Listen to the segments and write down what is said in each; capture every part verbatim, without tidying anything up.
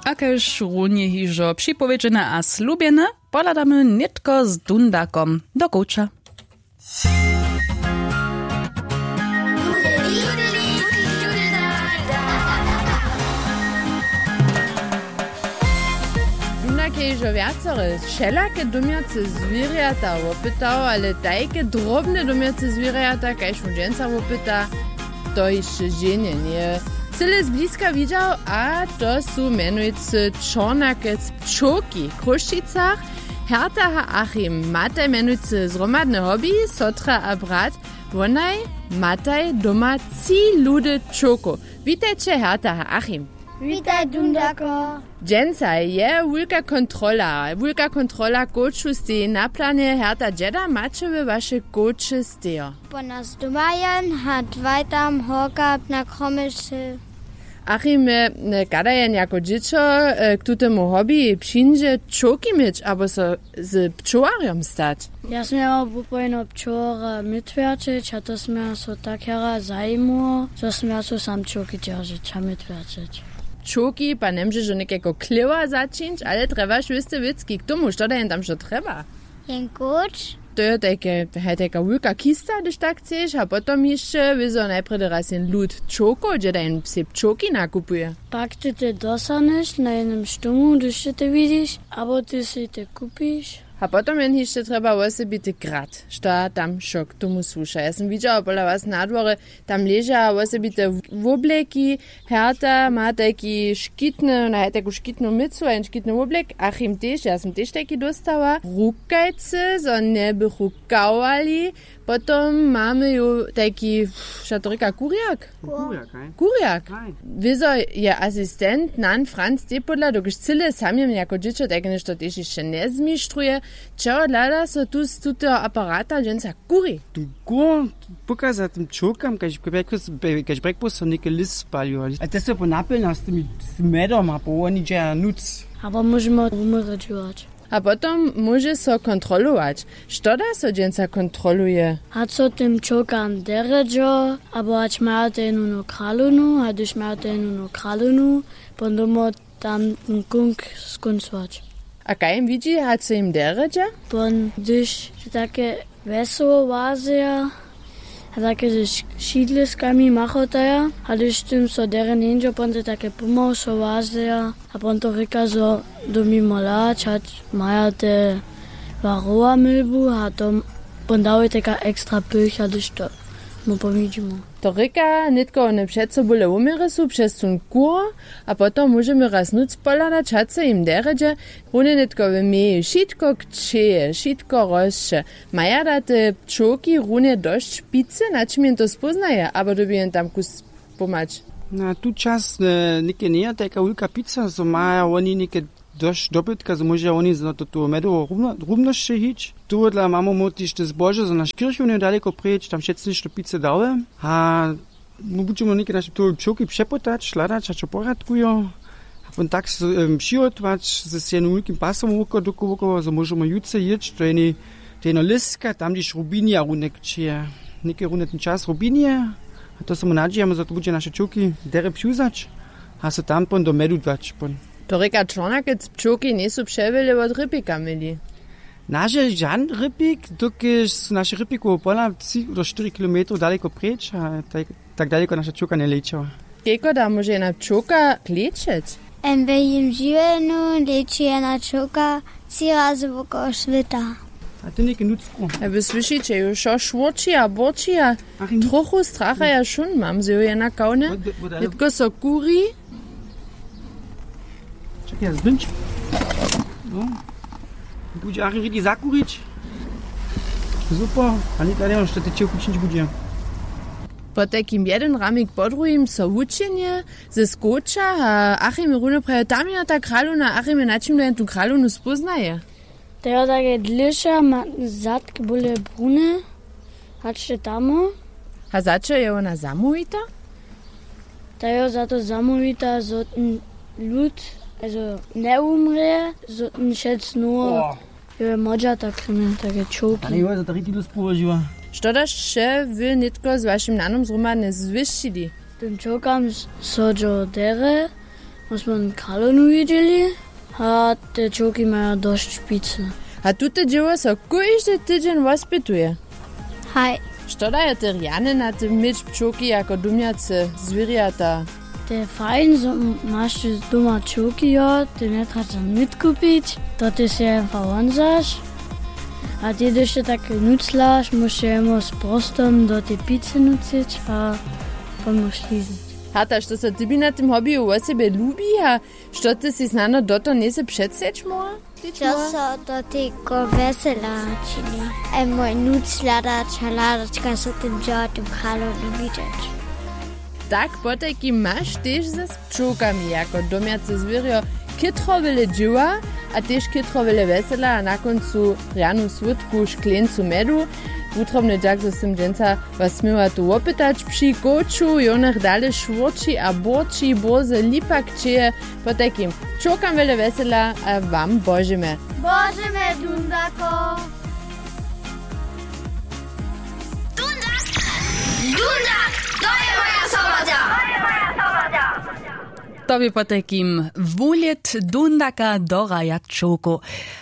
A kaž runje hižo připowědźene a slubjene, pohladamy nětko z dundakom do kowča. Dundak je hižo wjacore wšelake domjace zwěrjata wopytał, ale tajke drobne domjace zwěrjata, kaž mu dźensa wopyta, to hišće ženje njeje cyle zbliska widźał, a to su mjenujcy čornakec pčołki w Chrósćicach. Herta a Achim mataj mjenujcy zhromadne hobby, sotra a brat, wonaj mataj doma tři ludy pčołkow. Witajće, Herta a Achim. Witaj, Dundako. Dźensa je wulka kontrola, wulka kontrola kowču steji na planje. Herta, dźeda maće wy waše kowče stejo? Po nas doma jen a dwaj tam horka na kromyšće. Achim, e, kada jen jako dźěćo, e, k tutemu hobby přińdźe pčołki měć abo so z pčołarjom stać? Ja směła wupojeno pčołara mytwjerćeć a to směła so tak jara zajimuło, zo směła so sam pčołki dźeržeć a mytwjerćeć. Pčołki pa njemóžeš do někajko klěwa začińć, ale trjebaš wěste wěcki k tomu, što da jen tam što trjeba? Jen kóč. To je tajke, haj, tajka wulka kista, hdyž tak chceš, a potom hišće wězo najprjedy raz jen lud pčołkow, dźe da jen sej pčołki nakupuje. Pak ty te dosahneš na jednym štomu, hdyž ty te widiš, abo ty sej te kupiš. A potom jen hišće trjeba wosebity grad, što tam wšo k tomu słuša. Ja sym widźała pola was na dworje, tam leža wosebite wobleki. Herta ma tajki škitny, na, tajku škitnu mycu a jen škitny woblek. Achim tež, ja sym tež tajki dóstała. Rukajcy, zo njebychu kawali. Potom mamy ju tajki, što to rěka, kurjak? Kurjak, haj. Kurjak. Haj. Wězo je asistent Nan Franc, tej podla, dokelž cyle samjem jako dźěćo tajke něšto tež hišće njezmištruje. Čehodla da so tu z tuteho aparata dźensa kuri? Tu kur pokaza tym pčołkam, kaž, kaž, kaž brjekposo něke list spalił. A te so po napjelnja z tymi, z tym medom a po woni dźeja nuc. Abo móžemy wumrědźować. A potom móže so kontrolować. Što da so dźensa kontroluje? Hač so tym pčołkam derje dźo, abo hač maja te jenu nowu kralownu, a hdyž maja te jenu nowu kralownu, potom domo tam ten kónk skóncować. A kaž jim widźi, hač so jim derje dźe? Pon, hdyž je take wesoło łazeja, a take ze š-, šidliskami machotaja, a hdyž tym so derje njeńdźe, pon te take pomału so łazeja, a pon to rěka, zo dyrbi mol hlać, hač maja te warowa milbu, a to pon dawaj taka ekstra pycha, hdyž to mu powidźimy. To rěka, nětko wone před so bóle wuměry su přez tón kur, a potom móžemy raz nuc pohladać, hač so jim derje dźe. Runje nětko w meji wšitko kćeje, wšitko rosće. Maja da te pčołki runje dosć picy, na čim jen to spóznaje, abo dyrbi jen tam kus pomhać? Na tu čas, e, něke njeje tajka wulka pica, zo maja woni něke dosć dobytka, zo móžeja woni za to, to medowo rumno-, rumnosće hić. Tohodla mamy móhł tež te zbožo, zo naš kirchowny daleko preč, tam wšetcy něšto pice dały. A my budźemy něke naše pčołki přepytać, hladać, hač so porjadkujo. A pon tak so, em, přihotować z jednym wulkim pasom woko-, doko-, wokoło, zo móžemy jutře jěć do jednej, do jedneho lěska, tam, hdźež rubinija runje kćeje. Něke runje ten čas rubinije, a to so my nadźijamy, zo to budźe naše pčołki derje přiwzać a so tam pon do medu dać pon. To rěka, čornakec pčołki njejsu přewjele wot rěpika měli. Naše žan rěpik, dokelž su naše rěpikowe pola tři do štyri kilometrow daleko preč a tak, tak daleko naša pčołka njelečała. Kejko da móže jedna pčołka klečeć? Em, we jim žiwjenju leči jedna pčołka tři razy wokoło swěta. A ty něke nutřku. A wy słyšiće ju, wšo šwórči a bórči a trochu strachaja wšón mam, zo ju jedna kawne. Nětko so kuri. Čekaj, ja zbyńć. No. Budźe Ari rědi zakurić. Super. A nětko, ja njewěm, što te čeho kućić budźe. Potajkim jedyn ramik po druhim so wučenje ze skoča a Achim runje praje, tam je ta kralowna, Achim je, na čim da jen tu kralownu spóznaje. To je take dlěša, ma zadk bóle brune, hač je tamo. A za čo je wona zamołwita? Ta je za to zamołwita, zo ten lud, also, njewumrě, zo ten wšetc nowo. Jo, je młodźa, tak rěka, take čołki. Ale jo, za to rěki dóst połožiła. Što da sće wy nětko z wašim nanom zhromadnje zwěsćili? Tym čołkam s-, so dźo derje, Smy kralownu widźeli. A te čołki maja dosć picy. A tute dźěło so kóždy tydźeń wospytuje. Haj. Što dajo te rjany na tym měć pčołki jako dumjace zwěrjata? To je fajn, zo maš doma čołki, jo, ty njetrješ nic kupić, to ty se wonzaš. A ty dyšće tak nuclaš, móžeš jemu z prostom do tej picy nucić a pomóž liznąć. Hata, što so tebi na tym hobiju wosebje lubi a što ty sy snano do to njejsy předseć móhła? Što so do tego wjesela čini. Emo nuc hladać a hladać kaž so tym dźěła tym kralownu widźeć. Tak potajkim maš tež ze pčołkami jako domjace zwěrjo chětro wjele dźěła a tež chětro wjele wjesela a na kóncu rjanu słódku škleńcu mjedu. Wutrobny dźak zo sym dźensa was směła tu wopytać při kóču jónach dale šwórči a bórči bórze lipak čeje. Potajkim pčołkam wjele wjesela a wam božemy. Božemy dundako. Dundak. Dundak. To je moja soboda. To je moja soboda. To bě potajkim wuhlěd dundaka do raja čołkow.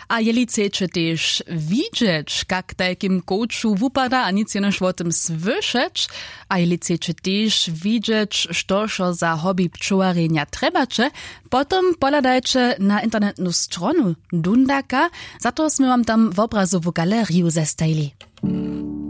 A jeli chceće tež widźeć kak tajkim kóču wupada a nic jenož wo tym słyšeć, a jeli chceće tež widźeć što wšo za hobby pčołarjenja trjebaće, potom pohladajće na internetnu stronu dundaka. Za to smy wam tam wobrazowu galeriju zestajili.